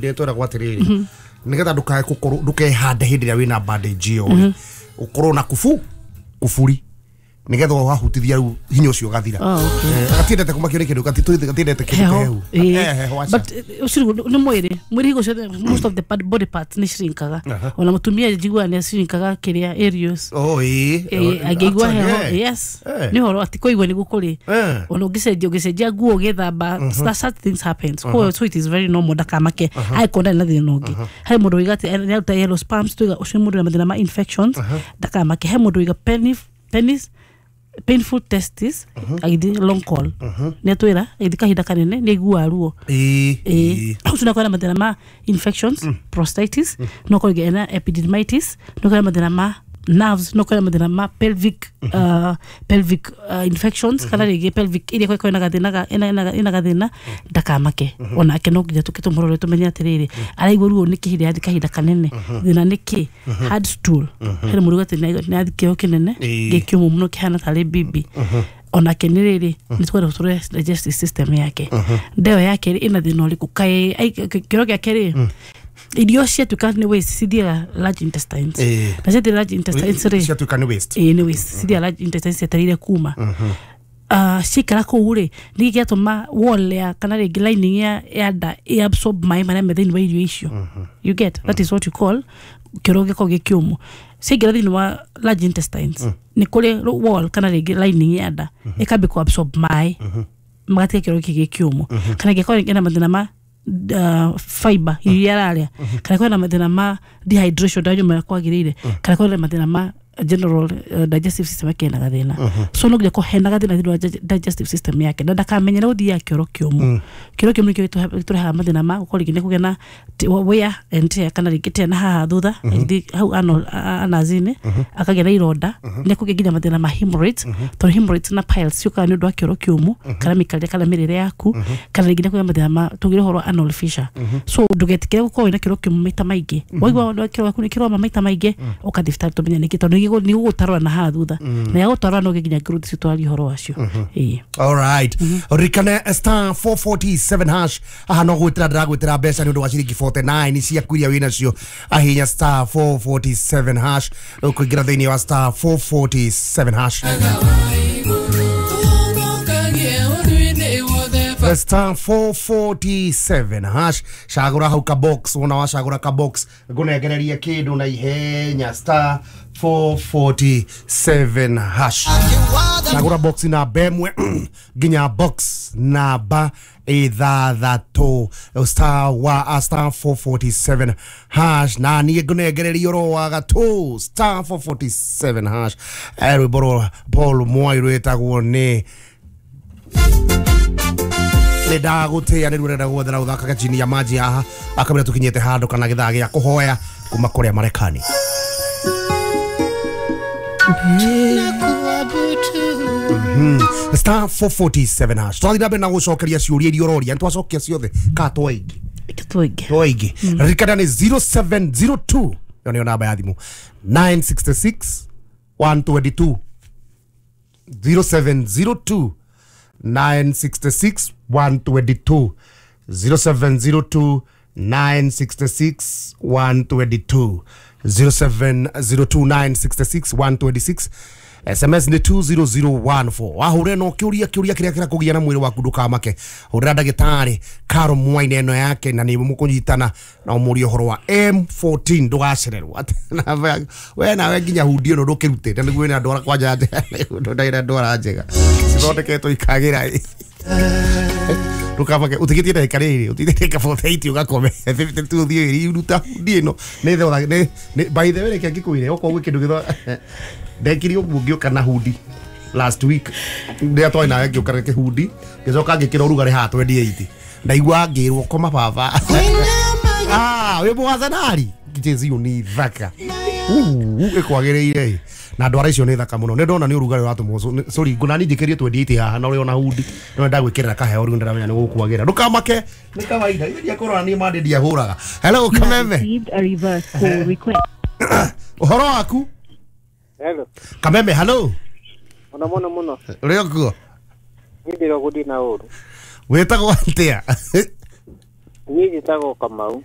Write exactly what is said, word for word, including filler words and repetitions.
Ndetwĩragwo atĩrĩrĩ, nĩgetha ndũkae gũkorwo ndũkehande hĩndĩ ĩrĩa wĩna bandage ĩyo rĩ, ũkorwo na kubu kuburi nĩgetha wahutithia rĩu hinya ũcio ũgathira. Oh, okay. Eh, gatiendete kũmakio nĩ kĩndũ, gati- gatiendete kĩndũ Heho. kĩhehu. Ĩĩ. Eh, heho aca. But eh, ũcio nĩ mwĩrĩ mwĩrĩ hingo ciothe, most of the part- body parts nĩ shrinkaga. Aha. Ona mũtumia njiguaga nĩ shrinkaga kĩrĩa areas. Oh, ĩĩ. Eh, angĩigua Actually, heho. eh. Yes. Eh. Nĩ ũhoro atĩ kũigua nĩguo kũrĩ. Eh. Ona ũngĩcenjia ũngĩcenjia nguo ũgĩthamba, such things happens. Koguo so it is very normal, ndakamake angĩkorwo ndarĩ na thĩna ũngĩ. Harĩ mũndũ ũiga atĩ nĩ aruta yellow sperms, tuiga ũcio nĩ mũndũ wĩna mathĩna ma infections, ndakamake. He mũndũ ũiga penis penis painful testis agĩthiĩ long call, nĩ atwĩra agĩthiĩ kahinda kanene nĩ aiguaga ruo. Ĩĩ, Ĩĩ. ĩĩ. Ũcio no akorwo na mathĩna ma infections, prostatitis, no akorwo rĩngĩ ena epididymitis, no akorwo na mathĩna ma nerves, no akorwo na mathĩna ma pelvic uh, pelvic uh, infections, kana rĩngĩ pelvic ĩrĩa ĩkorwo ĩna gathĩna ga- ĩna- ĩna ĩna gathĩna, ndakamake. Onake no nginya tũke tũmũrore tũmenye atĩrĩrĩ, araigua ruo nĩkĩ hĩndĩ yathi kahinda kanene, thĩna nĩkĩ. Hard stool, hena mũndũ uga atĩ nĩ nĩ athi kĩoro kĩnene Ĩĩ. gĩkĩũmũ mũno kĩhana tarĩ bibi. Onake nĩ rĩrĩ nĩ twenda tũrore digestive system yake, ndeo yake rĩ, ĩna thĩna ũrĩkũ, kaĩ ai- kĩoro gĩake rĩ, irio ciatuĩka nĩ waste cithiaga large intestines. Ĩĩ. Na ciathiĩ large intestines rĩ, Ciatuĩka nĩ waste. Ĩĩ, nĩ waste, cithiaga large intestines cietereire kuma. Uh, ciikara kũu rĩ, nĩkĩ gĩatũma wall ya kana rĩngĩ lining ya, ya nda ĩ absorb maĩ marĩa me thĩinĩ wa irio icio? You get? That is what you call kĩoro gĩkorwo gĩ kĩũmũ. Ciaingĩra thĩinĩ wa large intestines, nĩ kũrĩ wall kana rĩngĩ lining ya nda ĩkambia kũ absorb maĩ, magatiga kĩoro gĩkĩ gĩ kĩũmũ. Kana ĩngĩkorwo ĩna mathĩna ma uh, fiber irio iria ararĩa, kana kwĩna mathĩna ma dehydration, ndanyua marĩa kwagĩrĩire, kana kwĩna mathĩna ma general uh, digestive system yake ena gathĩna. So no nginya hena gathĩna thĩinĩ wa dig- digestive system yake, na ndakamenyere gũthiaga kĩoro kĩũmũ. Kĩoro kĩũmũ nĩkĩo gĩtũhe- gĩtũrehaga mathĩna ma gũkorwo rĩngĩ nĩ kũgĩa na t- wear and tear, kana rĩngĩ tear na haha thutha, agĩthiĩ hau ano- a- anazi-inĩ akagĩa na ironda, nĩ kũgĩa nginya mathĩna ma hemorrhoids, tondũ hemorrhoids na piles ciũkaga nĩ ũndũ wa kĩoro kĩũmũ kana mĩikarĩre kana mĩrĩre yaku, kana rĩngĩ nĩ kũgĩa mathĩna ma tugire ũhoro wa anal fissure. So ndũgetĩkĩre gũkorwo wĩna kĩoro kĩũmũ maita maingĩ. Waigua kĩoro gĩaku nĩ kĩroma maita maingĩ, ũka thibitarĩ tũmenye nĩkĩ, tondũ nĩ gũgũtarũra na haha thutha, na yagũtarũra no nginya growth icio twarie ũhoro wacio. Ĩĩ. Alright. Ririkane star four four seven hash. Haha no gwĩtĩra ndĩragwĩtĩra mbeca nĩ ũndũ wa ciringi mĩrongo ĩna na kenda ciaku iria wĩ nacio. Ahinya star four four seven hash, ũkũingĩra thĩinĩ wa star four four seven hash. Star four four seven hash, cagũra hau ka box. Wona wacagũra ka box, ngũnengererie kĩndũ na ihenya. Star four four seven hash, cagũra box namba ĩmwe nginya box namba ithathatũ. Star wa star four four seven hash, na niĩ ngũnengereria oro wa gatũ. Star four four seven hash. Eh, rwĩmbo rwa Paul Mwai rwĩtagwo nĩ nĩ ndagũtĩa, nĩ rũrenda guothe na ũthakaga chini ya maji haha akamĩra tũkinyĩte handũ kana gĩthaa gĩa kũhoya kuma kũrĩa Marekani. Star four four seven hash, twathiĩ na mbere na gũcokeria ciũria iria ũroria. Nĩ twacokia ciothe ka twaingĩ? Twaingĩ. Twaingĩ. Ririkana nĩ zero seven zero two, ĩyo nĩyo namba ya thimũ, nine six six one two two, zero seven zero two nine six six one two two, zero seven zero two nine six six one two two, zero seven zero two nine six six one two six. S M S nĩ two zero zero one four. Wahũre no kĩũria kĩũria kĩrĩa kĩrakũgia na mwĩrĩ waku, ndũkamake, hũrĩra ndagĩtarĩ Karo Mwaine ĩno yake na nĩ mũkũnyitana na ũmũrie ũhoro wa M fourteen. Ndũgacererwo. Atĩ namba- we nawe nginya hundi ĩno ndũkĩrutĩte nĩguo ĩna ndwara kwanja ndagĩra ndwara njega cithondeketwo ikagĩra. Ndũkamake, ũtigĩtie ndagĩka rĩrĩ, ũtigĩtie ndagĩka forty-eight ũgakome fifty-two, ũthiĩ wĩruta hundi ĩno nĩ thotha nĩ nĩ- by the way, reke ngĩkwĩre, okorwo gwĩ kĩndũ gĩtho ndekire ũguo ngĩũka na hundi last week rĩrĩa twarĩ nawe, ngĩũka na kĩhundi, ngĩcoka ngĩkĩra ũrugarĩ haha twenty-eight, ndaigua ngĩrwo koma baba. Ah, wĩ mũacenari jezi nĩ thaka ĩkwagĩrĩire na ndwara icio nĩ thaka mũno. Nĩ ndona nĩ ũrugarĩ ũratũmwo. Sorry, ngũnani njĩkĩrie twenty-eight haha na ũrĩ ona hundi no ndagwĩkĩrĩra kaheo rĩu, ndĩramenya nĩ gũkwagĩra. Ndũkamake, nĩ kawaida ithe ndiakũrora niĩ mande ndiahũraga. Hello, Kameme. Received a reverse call request. Ũhoro waku? Hello. Kameme, hello. Mũno mũno mũno. Ũrĩ okuo? Niĩ ndĩrogũthiĩ na ũru. Wĩtagwo atĩa? Niĩ njĩtagwo Kamau.